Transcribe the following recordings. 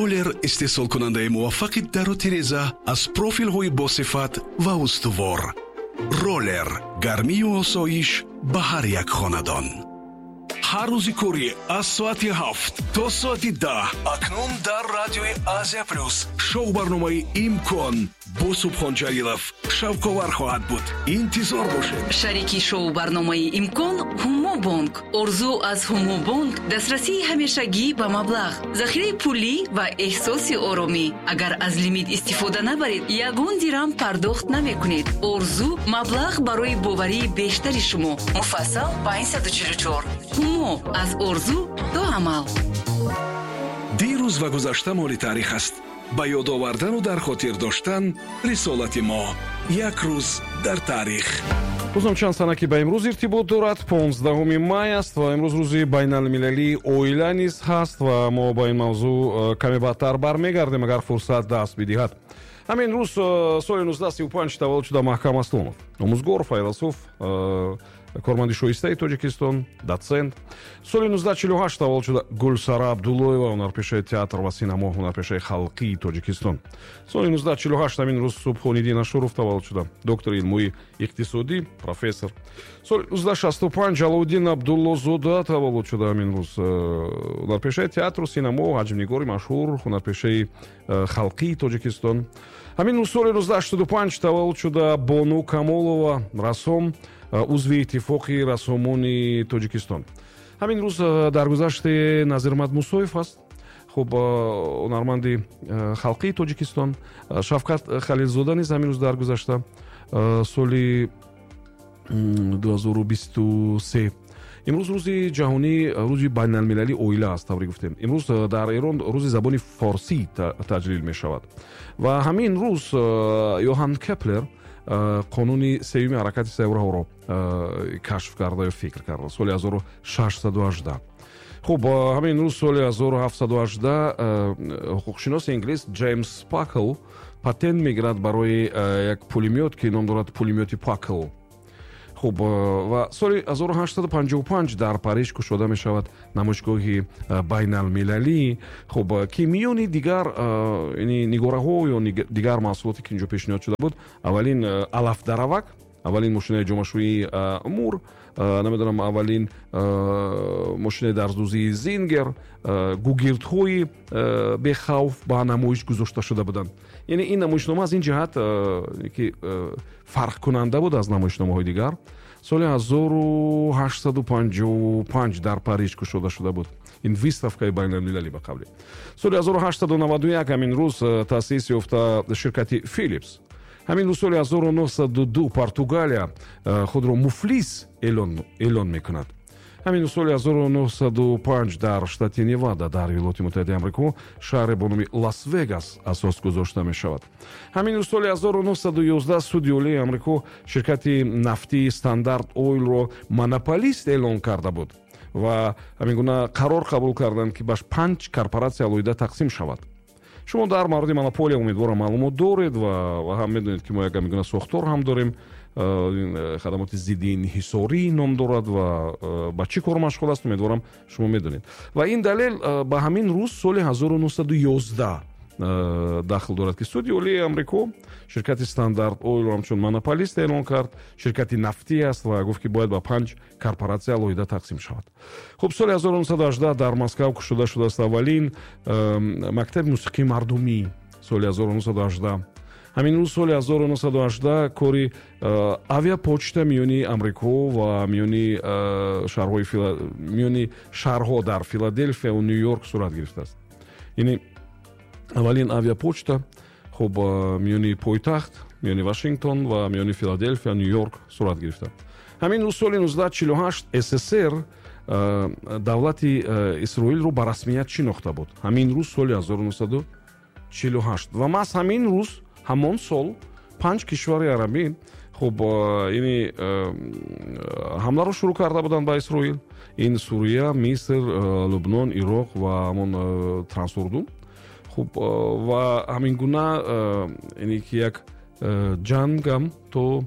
Роллер истеҳсолкунандаи муваффақи дару тиреза аз профилҳои босифат ва устувор. Роллер гармию осоиш ба ҳар як хонадон. Ҳар рӯзи корӣ аз соати 7 то соати 10 акнун дар радиои Азия Плюс шоу барномаи «Имкон» бо Субҳон Ҷалилов шавқовар хоҳад буд. Интизор бошед. Шарики шоу барномаи «Имкон» Ҳумобонк. Орзу аз Ҳумобонк дастрасии ҳамешагӣ ба маблағ, захираи пулӣ ва эҳсоси оромӣ. Агар аз лимит истифода набаред, ягон дирам пардохт намекунед. Орзу маблағ барои боварии бештари шумо. Муфассал 544. Ҳумо аз орзу то амал. Дирӯз ва гузашта моли таърих аст. Ба ёд овардану дар хотир доштан рисолати мо. Як рӯз дар таърих. Рӯзам чанд сана, ки ба имрӯз иртибот дорад, 15 май аст ва имрӯз рӯзи байналмилалии оила низ ҳаст ва мо ба ин мавзӯъ каме баъдтар бармегардем, агар фурсат даст бидиҳад. Ҳамин рӯз соли 1935 таваллуд шуда Маҳкам Аслонов, омӯзгор, файласуф, корманди шоистаи Тоҷикистон, дотсент. Соли 1948 таваллуд шуда Гулсара Абдуллоева, ҳунарпешаи театр ва синамо, ҳунарпешаи халқии Тоҷикистон. Соли 1948 ҳамин рӯз Субҳониддин Ашуров таваллуд шуда, доктори илмҳои иқтисодӣ, профессор. Соли 1965 Алоуддин Абдуллозода таваллуд шуда ҳамин рӯз, ҳунарпешаи театру синамо, ҳаҷмнигори машҳур, ҳунарпешаи халқии Тоҷикистон. Ҳамин рӯз соли 1985 таваллуд шуда Бону Камолова, рассом, узви Иттифоқи рассомони Тоҷикистон. Ҳамин рӯз даргузашти Назирмад Мусоев аст, хуб, ҳунарманди халқии Тоҷикистон. Шавкат Халилзода низ ҳамин рӯз даргузашта, соли 2023. Имрӯз рӯзи ҷаҳонӣ, рӯзи байналмилалии оила аст, тавре гуфтем. Имрӯз дар Эрон рӯзи забони форсӣ таҷлил мешавад. Ва ҳамин рӯз Йоҳан Кеплер қонуни сеюми ҳаракати сайёраҳоро кашф карда ё фикр карда соли 1618. Хуб, ҳамин рӯз соли 1718 ҳуқуқшиноси инглис Ҷеймс Пакл патент мегирад барои як пулемёт, ки ном дорад пулемёти Пакл. Хуб, ва соли 1855 дар Париж кушода мешавад намоишгоҳи байналмилалӣ, хуб, ки миёни дигар нигораҳо ё дигар маҳсулоте, ки инҷо пешниҳод шуда буд, аввалин алафдаравак, аввалин мошинаи ҷомашӯии Мур, намедонам, аввалин мошинаи дарздӯзии Зингер, гугирдҳои бехавф ба намоиш гузошта шуда буданд. Яъне ин намоишнома аз ин ҷиҳат ки фарқкунанда буд аз намоишномаҳои дигар. Соли 1855 дар Париж кушода шуда буд ин выставкаи байналмилалӣ. Ба қавле, соли 1891 ҳамин рӯз таъсис ёфта ширкати Филипс. Ҳамин рӯз соли 1902 Португалия худро муфлис эълон мекунад. Ҳамин соли 1905 дар штати Невада дар Иёлоти Муттаҳидаи Амрико шаҳре бо номи Лас Вегас асос гузошта мешавад. Ҳамин рӯз соли 1911 Суди Олии Амрико ширкати нафтии Стандарт Ойлро монополист эълон карда буд ва ҳамин гуна қарор қабул карданд, ки ба панҷ корпоратсия алоҳида тақсим шавад. Шумо дар мавриди монополия, умедворам, маълумот доред ва ҳам медонед, ки мо як ҳамин гуна сохтор ҳам дорем, хадамоти зидди инҳисорӣ ном дорад ва ба чӣ кор машғул аст, умедворам, шумо медонед. Ва ин далел ба ҳамин рӯз соли 1911 дахл дорад, ки Суди Олии Амрико ширкати Стандарт Ойлро ҳамчун монополист эълон кард, ширкати нафтӣ аст, ва гуфт, ки бояд ба панҷ корпоратсия алоҳида тақсим шавад. Хуб, соли 1918 дар Москав кушода шудааст аввалин мактаби мусиқии мардумӣ соли 1918. Ҳамин рӯз соли 1918 кори авиапочта миёни Амрико ва миёни шаҳрҳои, миёни шаҳрҳо дар Филаделфия ва Ню Йорк сурат гирифтааст, яъне аввалин авиапочта, хуб, миёни пойтахт, миёни Вашингтон ва миёни Филаделфия, Ню Йорк сурат гирифта. Ҳамин рӯз соли 1948 СССР давлати Исроилро ба расмият шинохта буд, ҳамин рӯз соли 1948. Ва маҳз ҳамин рӯз ҳамон сол панҷ кишвари арабӣ, хуб, яъне ҳамларо шурӯъ карда буданд ба Исроил. Ин Сурия, Миср, Лубнон, Ироқ ва ҳамон Трансурдун. Хуб, ва ҳамин гуна яъне ки як ҷангам то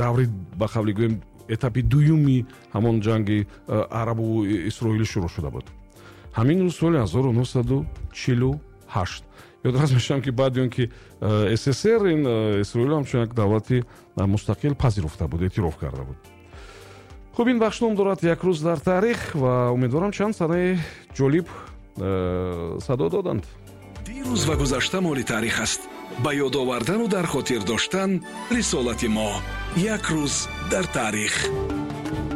даври, ба қавли гӯем, этапи дуюми ҳамон ҷанги арабу исроилӣ шурӯъ шуда буд. Ҳамин рӯз соли 1948, ёдрас мешавам, ки баъди он ки СССР ин Исроил ҳамчун як давлати мустақил пазируфта буд, эътироф карда буд. Хуб, ин бахш ном дорад «Як рӯз дар таърих» ва умедворам, чанд санаи ҷолиб садо доданд. Дирӯз ва гузашта моли таърих аст. Ба ёд овардану дар хотир доштан рисолати мо. Як рӯз дар таърих.